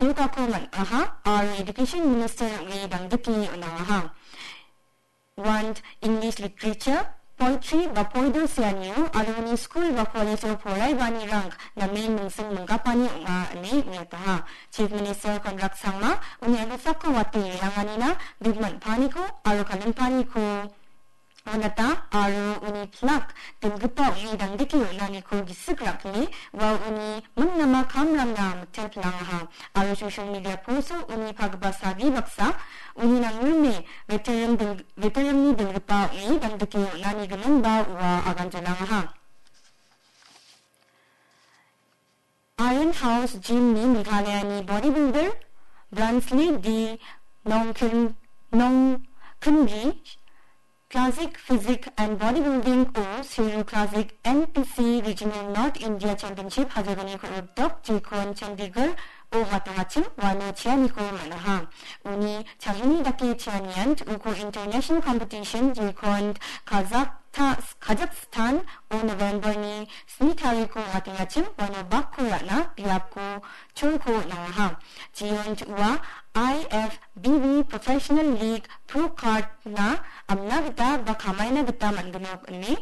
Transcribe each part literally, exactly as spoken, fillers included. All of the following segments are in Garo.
Yogako man·aha aro Education Minister ong·e dangdike on·angaha. Want English Literature, Poetry ba poido seanio aro uni skul ba college-o poraibaanirang namen mingsing minggapani ong·a ine uiataha. Chief Minister Conrad Sangma uni agilsako wate re·anganina big man·paniko aro kalimpaniko on·ata aro uni plak dinggipa ong·e dangdike on·aniko gisik ra·kile ua uni mingnama kamrangna mitel pilangaha aro social media post-o uni pagipa sabi baksa uni nangrime veteran ding-, veteranni dinggipa ong·e dangdike on·ani giminba ua aganjanangaha. Iron House Gym-ni Meghalayani bodybuilder Bransley D. Nongkin-, Nongkinbi Classic Physique and Bodybuilding o Seru Classic N P C Regional North India Championship hajalgni ko·ripdok jekon Chandigarh o watangachim uano cheaniko man·aha. Uni chahini dake cheanian uko international competition jekon Kazakh-, Kazakhstan o November-ni sni tariko watangachim uano bakko ra·na biapko cholko nangaha. Jeon ua I F B B Professional League Pro Card-na amna gita ba kamaina gita man·gnok ine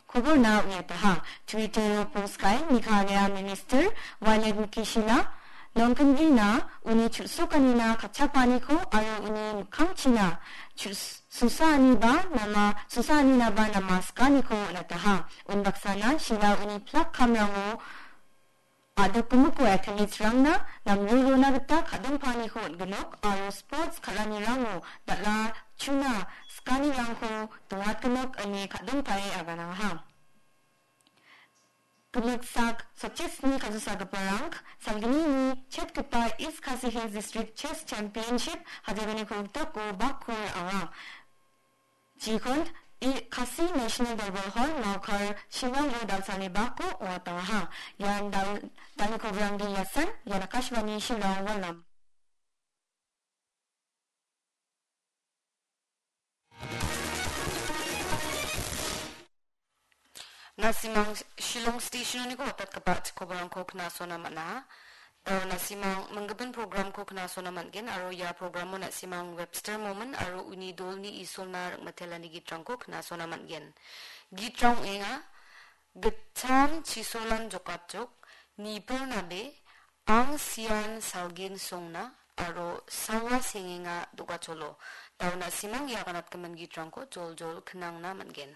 koborna uiataha. Twitter-o post ka·e Meghalaya Minister Wailadmiki Shylla Nongkinbina uni chu·sokanina katchapaniko aro uni mikkangchina chus-, susaaniba nama, susaanina ba nama sikaniko on·ataha. Unbaksana Shylla uni plak kamrango a·dokgimiko athletes-rangna namrirona gita ka·dongpaniko on·gnok aro sports kal·anirango dal·a chuna sikanirangko dongatgnok ine ka·dongpae aganangaha. Gimiksak Sotchesni kasosagiparang salgnini chetgipa East Khasi Hills District Chess Championship hajalgni kolgritako bakko ra·anga. Jikon i-, Khasi National Durbar Hall, Mawkar, Shivango dalsalni bakko ong·atangaha. Ian dal-, dalni kobrangni yasan, ian Akashvani Shillong, Wallam. Na·simang Shillong Station-oniko watatgipa chikobarangko knasona man·a. Dao na·simang minggimin programko knasona man·gen aro ia programo na·simang Webster Momin aro uni dolni isolna ring·matelani gitrangko knasona man·gen. Gitrang ong·enga, Gitcham chisolan jokatjok, Nipil nabe, Ang sian salgin songna, aro sawa sengenga do·gacholo. Dao na·simang ia ganatgimin gitrangko joljol knangna man·gen.